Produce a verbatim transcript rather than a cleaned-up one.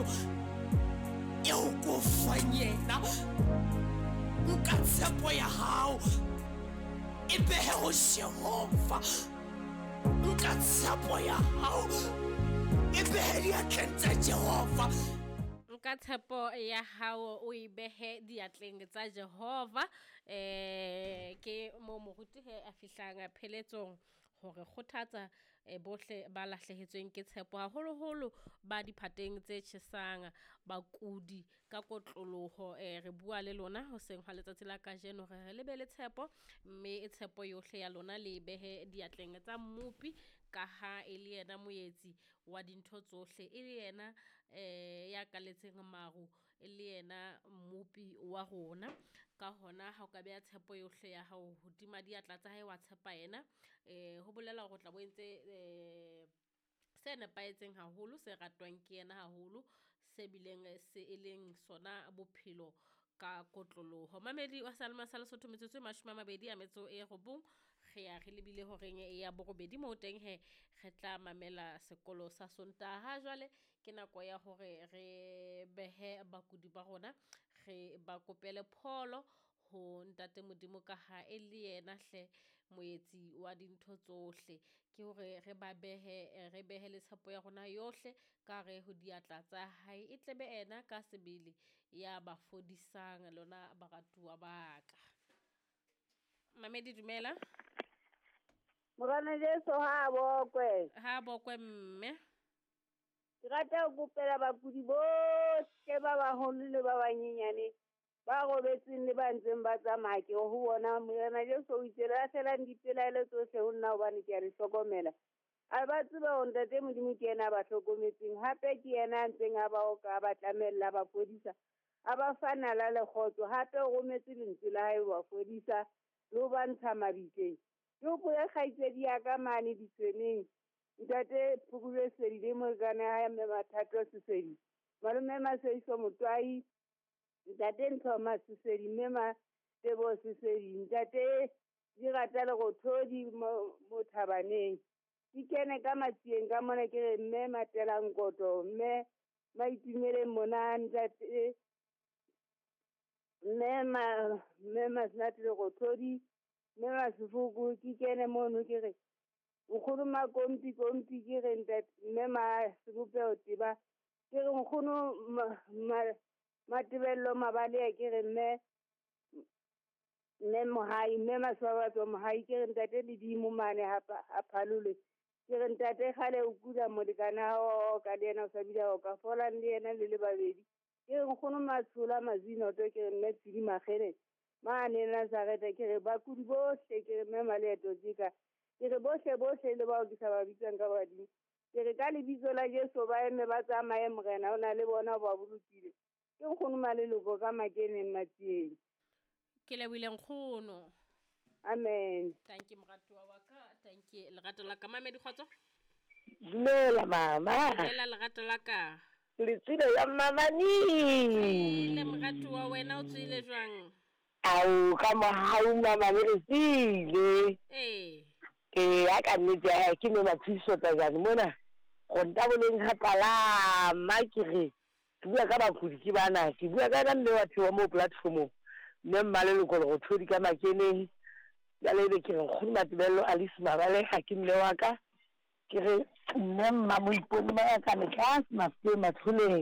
kajeno eo ko fang yena. Nka tshepo ya hao e behe ho Jehova. Nka tshepo ya hao e behe diatleng tsa Jehova. Nka tshepo ya hao o e behe diatleng tsa Jehova. Eh ke mo moruti he a fihlang pheletsong hore kgothatsa eh, bohle ba lahlehetsweng ke tshepo, haholoholo ba diphateng tse tjhesang, bakudi ka kotloloho. Eh re bua le lona hoseng hwa letsatsi la kajeno re re le be le tshepo, mme tshepo yohle ya lona le e behe diatleng tsa Mmopi, ka ha e le yena moetsi wa dintho tsohle, e le yena eh ya kaletseng maru, e le yena Mmopi wa rona. Ka hona ha o ka beha tshepo yohle ya hao hodima diatla tsa hae, wa tshepa yena, eh ho bolela hore o tla bo entse eh se nepahetseng haholo, se ratwang ke yena haholo, se bileng se e leng sona bophelo ka kotloloho. Mamedi wa Salma sa Lesotho, metsotso e mashome a mabedi a metso e robong, re ya re lebile horeng ya borobedi moo teng he re tla mamela sekolo sa Sontaha. Jwale ke nako ya hore re behe bakudi ba rona, re ba kopele pholo ho Ntate Modimo, ka ha e le yena hle moetsi wa dintho tsohle. Ke hore re ba behe, re behe le tshepo ya rona yohle ka hare ho diatla tsa hae, e tlebe ena ka sebele ya ba fodisang lona baratuwa ba ka. Mamedi dumela. Morena Jesu ha bokwe. Ha bokwe mme. Ke rata ho kopela bakudi bohle ba baholo le ba banyenyane ba robetseng le ba ntseng ba tsamaya, ke ho bona Morena Jesu o itse lahlelang dipelaelo tsohle ho nna hobane ke a le hlokomela. A ba tseba hore Ntate Modimo ke yena a ba hlokometseng, hape ke yena a ntseng a ba oka, a ba tlamella, a ba fodisa, a ba fa nala le kgotso, hape o rometse lentswe la hae ho ba fodisa le ho ba ntsha mabitleng. Ke hopole kgaitsedi ya ka mane ditshweneng, Ntate Phukubye Sedi le molekane wa hae Mme Mathato Sesedi, malome Maseiso Motwai, Ntate Ntlhoma Sesedi, mme Matebo Sesedi, Ntate Dirata Lerothodi mo, mo Thabaneng. Ke kene ka matsieng ka mona ke re mme Matela Nkoto, mme Maitumeleng mona, Ntate mme ma, mme Masenate Lerothodi, mme Masefoko, ke kene mono ke re nkgono Makompi Kompi, ke re ntate mme Masebopeho Teba, ke re nkgono ma, ma, Matebello Mabalea, ke re mme mme Mohai, mme Maswabatso Mohai, ke re ntate Ledimo mane ha ha Phalole, ke re ntate kgale o kula molekane wa hao ka le yena o sa bile o ka folang le yena le le babedi, ke re nkgono Matshola Mazinoto, ke re mme Tshidi Makgele mane Nazareta, ke re bakudi bohle, ke re mme Maleeto Tjeka, ke re bohle bohle le bao ke sa ba bitsang ka badimo, ke re ka lebitso la Jesu ba eme ba tsamaye, Morena o na le bona o ba bolokile. Ke nkgono Maleloko ka Makeneng Matsieng. Ke lebohile nkgono. Amen. Thank you moratuwa wa ka, thank you lerato la ka. Mamedi kgotso. Dumela mama. Dumela lerato la ka. Le tswile ya mamani. Le moratuwa wena o tswile jwang? Au ka mohau mama le tswile. Eh. Ke ya ka nnete ya ke no mathiso tsa jane mona. Go ntaboleng ha palama ke re ke bua ka bakudi ke bana, ke bua ka nna mme wa thewa mo platformong, mme Mmaleloko Lerothodi ka Makeneng. Jwale ebe ke re nkgono Matebello Alice Mabaleha ke mme wa ka, ke re mme Mmamoipone ba ka metlase Mafikeng Matsholeng.